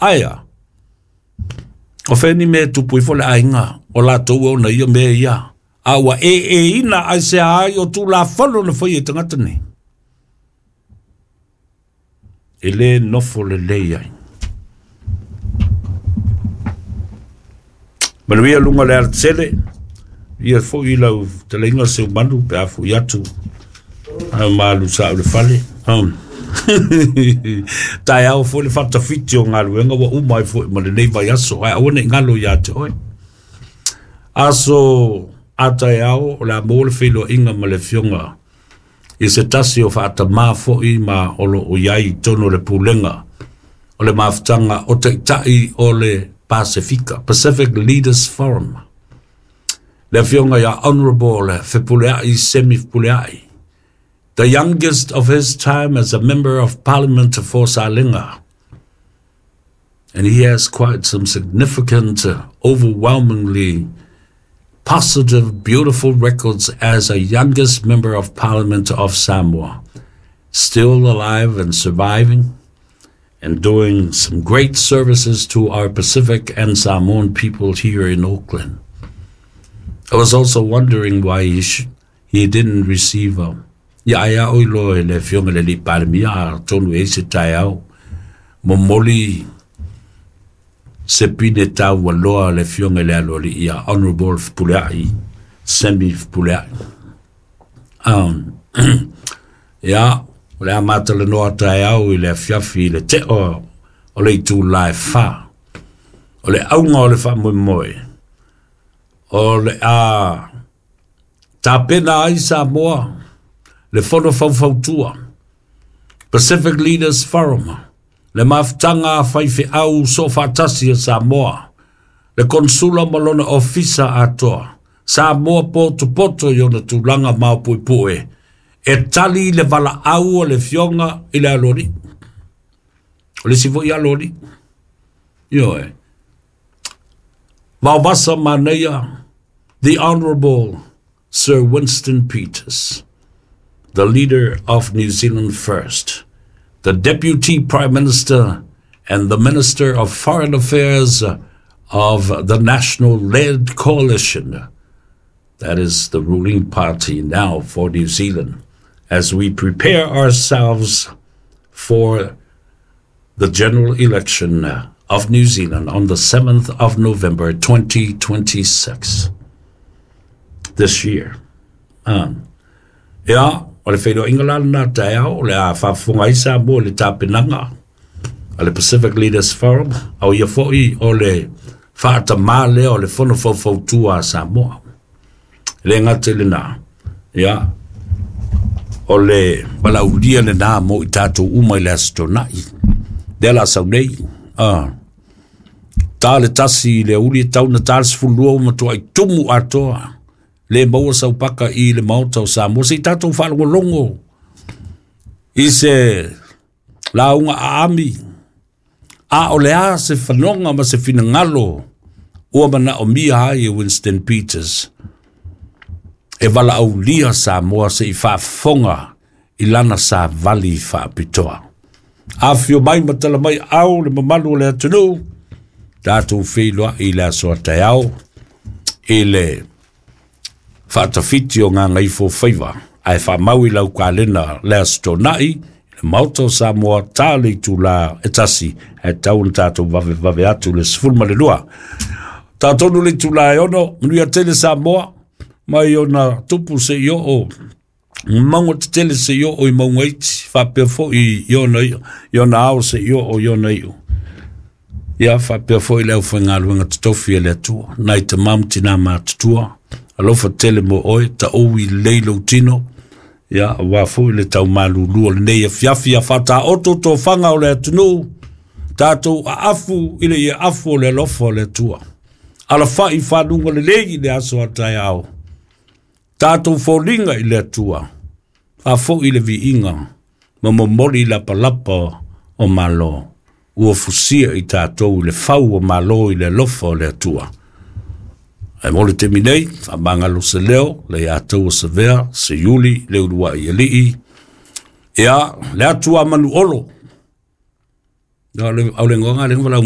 Ae a? O fea ni mea e tupu ifo le aiga o latou e ona ia mea ia, a ua ēēina aisea ai o Tulafono na faia e tagata nei? E lē nofo lelei ai. Manuia luga o le alatele, ia foi lau fetalaiga Seumanu pe a foi atu a malu sa o le fale. Taeao foi le faatafiti o galuega ua uma ai foi ma lenei vaiaso, ae aua ne i galo ia te oe. Aso a taeao o le a maua le feiloaiga ma le afioga i se tasi o faatamā foi ma o lo o i ai i totonu o le pulega o le mafutaga o Taitai o le Pasefika, Pacific Leaders Forum, le afioga ia Honourable Fepuleai Semi Fepuleai, the youngest of his time as a member of parliament for Salega. And he has quite some significant, overwhelmingly positive, beautiful records as a youngest member of parliament of Samoa. Still alive and surviving and doing some great services to our Pacific and Samoan people here in Auckland. I was also wondering why he, he didn't receive a ia ai au i loa i le afioga i le alii Palemia atonu e i ai se taeao momoli se pine taualoa a le afioga i le aloalii ia Honourable Fepuleai Sammy Fepuleai. Ia, o le a matalanoa taeao i le afiafi i le teo o le itula e 4. O le auga o le faamoemoe, o le a tapena ai Samoa le Fono Faufautua, Pacific Leaders Forum, le mafutaga a faifeau soofaatasi a Samoa, le Konsula ma lona Ofisa atoa, Samoa potopoto i ona tulaga maopuepue, e tali le valaau a le Afioga i le Aloalii. O le isi foi Aloalii. Ioe. Vaovasa manaia, the Honourable Sir Winston Peters, the leader of New Zealand First, the Deputy Prime Minister and the Minister of Foreign Affairs of the National-led Coalition. That is the ruling party now for New Zealand as we prepare ourselves for the general election of New Zealand on the 7th of November 2026 this year. Ia, o le feiloaiga la lena taeao, o le a faafofoga ai Samoa i le tapenaga a le Pacific Leaders Forum, a o ia foi o le faatamā lea o le Fono Faufautua a Samoa. E le gata i lena, ia, o le valaaulia lena mo i tatou uma i le Aso Toonai, lea la sau nei. Ta le 1 i le aoauli e tau na ta le 12 ua matuai tumu atoa, le maua sau paka i le Maota o Samoa, se i tatou faalogologo i se lauga aami, a o le a se fanoga ma se finagalo ua manaomia ai e Winston Peters e valaaulia Samoa se i faafofoga i lana savali faapitoa. Afio mai ma tala mai au le mamalu o le atunuu, tatou feiloai i le aso a taeao i le faatafiti o Gagaifo Faiva, ae faamau i lau kalena le Aso Toonai i le Maota o Samoa, ta le itula e 1, ae tau ona tatou vavevave atu le 12. Tatonu le itula e 6, manuia tele Samoa, mai ona tupu se i oo mauga tetele se i oo i mauga iti, faapea foi i ona, i ona ao se i oo i ona iu. Ia faapea foi le aufaigaluega totofi a le Atua, nai tama ma tina matutua, alofa tele mo oe, taou i lelei lou tino, ia aua foi le taumalulu o lenei afiafi a faataoto tofaga o le atunuu, tatou aafu i le ieafu o le alofa o le Atua. Alafai i faluga lelei i le aso a taeao, tatou foliga i le Atua, faafoi le viiga ma momoli lapalapa o Malo, ua fusia i tatou i le fau o Malo i le alofa o le Atua. Ae mo le taimi nei, faamagalo se leo, le ia taua savea, se iuli, le uluai alii, ia, le atu a manu olo. O le aulegoga le valaau.